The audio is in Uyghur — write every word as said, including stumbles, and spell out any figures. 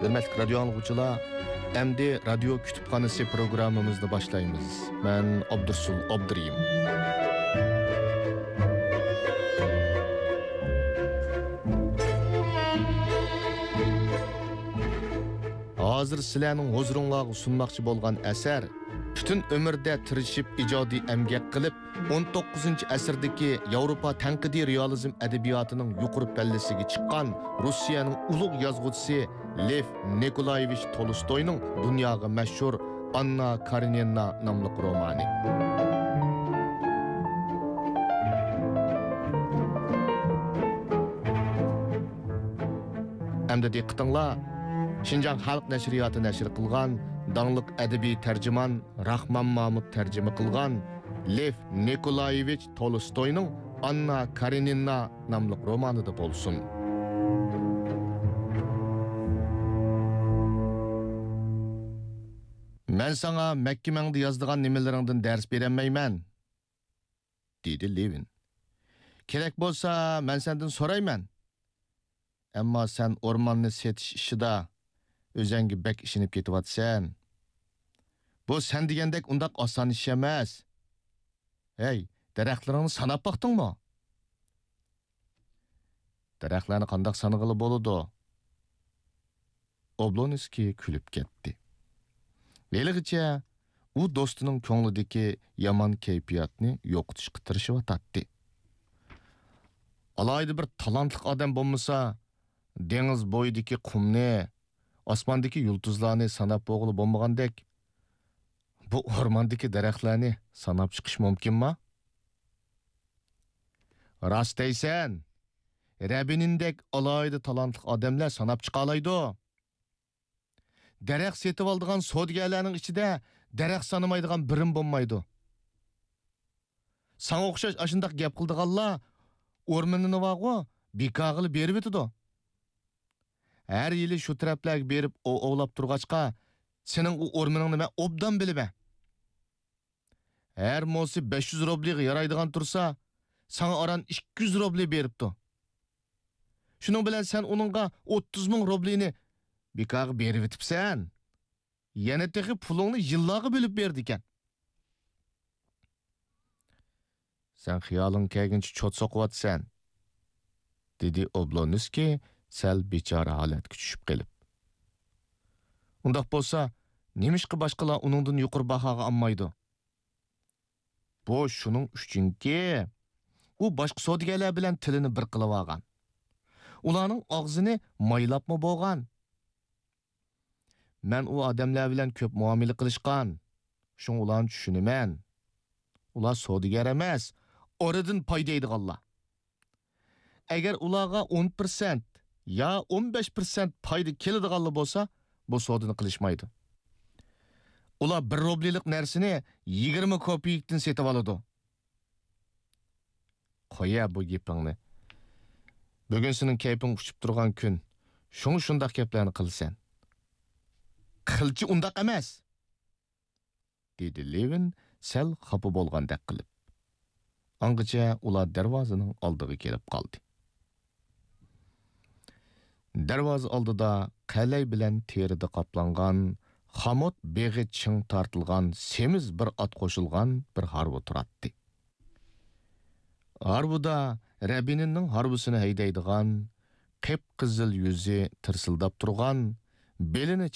ھۆرمەتلىك رادىيو ئاڭلىغۇچىلار، ئەمدى رادىيو كۇتۇپخانىسى پروگراممىمىزنى باشلايمىز. مەن ئابدۇرسۇل ئابدۇرېھىم. ھازىر سىلەرنىڭ ھۇزۇرۇڭلارغا سۇنماقچى بولغان ئەسەر پۈتۈن ئۆمرىدە تىرىشىپ ئىجادىي ئەمگەك قىلىپ، ئون توققۇزىنچى ئەسىردىكى ياۋروپا تەنقىدىي رېئالىزم ئەدەبىياتىنىڭ يۇقىرى پەللىسىگە چىققان روسىيەنىڭ ئۇلۇغ يازغۇچىسى لېف نىكولايېۋىچ تولستوينىڭ دۇنياغا مەشھۇر ئاننا كارېنىنا ناملىق رومانى. ئەمدى دىققىتىڭلار شىنجاڭ خەلق نەشرىياتى نەشر قىلغان داڭلىق ئەدەبىي تەرجىمان راخمان مامۇت تەرجىمە قىلغان لېف نىكولايېۋىچ تولستوينىڭ ئاننا كارېنىنا ناملىق رومانىدا بولسۇن. مەن ساڭا مەككە مەڭدە يازىدىغان نېمىلىرىڭدىن دەرس بېرەلمەيمەن، دېدى لېۋىن. كېرەك بولسا، مەن سەندىن سورايمەن. ئەمما سەن ئورماننى سېتىش ئىشىدا ئۆزەڭگە بەك ئىشىنىپ كېتىۋاتىسەن. بۇ سەن دېگەندەك ئۇنداق ئاسان ئىش ئەمەس. ھەي، دەرەخلىرىڭنى ساناپ باقتىڭمۇ؟ دەرەخلەرنى قانداق سانىغىلى بولىدۇ؟ ئوبلونسكىي كۈلۈپ كەتتى. ھېلىغىچە ئۇ دوستىنىڭ كۆڭلىدىكى يامان كەيپىياتنى يوقىتىشقا تىرىشىۋاتاتتى. ئالاھىدە بىر تالانتلىق ئادەم بولمىسا، دېڭىز بويىدىكى قۇمنى، ئاسماندىكى يۇلتۇزلارنى ساناپ بولغىلى بولمىغاندەك، بۇ ئورماندىكى دەرەخلەرنى ساناپ چىقىش مۇمكىنما؟ راست دەيسەن، رەبىنىندەك ئالاھىدە تالانتلىق ئادەملەر ساناپ چىقالايدۇ. دەرەخ سېتىۋالىدىغان سودىگەرلەرنىڭ ئىچىدە دەرەخ سانىمايدىغان بىرىمۇ بولمايدۇ. ساڭا ئوخشاش ئاشۇنداق گەپ قىلىدىغانلار ئورمىنىنى بارغۇ، بىكارغىلا بېرىۋېتىدۇ. ھەر يىلى شۇ تەرەپلەرگە بېرىپ ئوۋ ئوۋلاپ تۇرغاچقا، سېنىڭ ئۇ ئورمىنىڭنى مەن ئوبدان بىلىمەن. ھەر موسى بەش يۈز روبلىغا يارايدىغان تۇرسا، ساڭا ئاران ئىككى يۈز روبلى بېرىپتۇ. شۇنىڭ بىلەن سەن ئۇنىڭغا ئوتتۇز مىڭ روبلىنى بىكارغا بېرىۋېتىپسەن. يەنە تېخى پۇلۇڭنى يىللارغا بۆلۈپ بېرىدىكەن. سەن خىيالىڭ كەلگىنىچە چوت سوقۇۋاتىسەن، دېدى ئوبلونسكىي سەل بىچارە ھالەتكە چۈشۈپ قېلىپ. ئۇنداق بولسا، نېمىشقا باشقىلار ئۇنىڭدىن يۇقىرى باھاغا ئالمايدۇ؟ بۇ شۇنىڭ ئۈچۈنكى، ئۇ باشقا سودىگەرلەر بىلەن تىلىنى بىر قىلىۋالغان. ئۇلارنىڭ ئاغزىنى مايلاپمۇ بولغان. مەن ئۇ ئادەملەر بىلەن كۆپ مۇئامىلە قىلىشقان، شۇڭا ئۇلارنى چۈشىنىمەن. ئۇلار سودىگەر ئەمەس، ئارىدىن پايدا يەيدىغانلار. ئەگەر ئۇلارغا ئون پىرسەنت يا ئون بەش پىرسەنت پايدا كېلىدىغانلا بولسا، بۇ سودىنى قىلىشمايدۇ. ئۇلار بىر روبلىلىق نەرسىنى يىگىرمە كوپېيكتىن سېتىۋالىدۇ. قويە بۇ گېپىڭنى. بۈگۈن سېنىڭ كەيپىڭ ئۇچۇپ تۇرغان كۈن. شۇڭا شۇنداق گەپلەرنى قىلىسەن. قىلچە ئۇنداق ئەمەس، دېدى لېۋىن سەل خاپا بولغاندەك قىلىپ. ئاڭغىچە ئۇلار دەرۋازىنىڭ ئالدىغا كېلىپ قالدى. دەرۋازا ئالدىدا قەلەي بىلەن تېرىدە قاپلانغان، خامۇت بېغى چىڭ تارتىلغان سېمىز بىر ئات قوشۇلغان بىر ھارۋا تۇراتتى. ھارۋىدا رەبىنىننىڭ ھارۋىسىنى ھەيدەيدىغان، قىپقىزىل يۈزى تىرسىلداپ تۇرغان، بېلىنى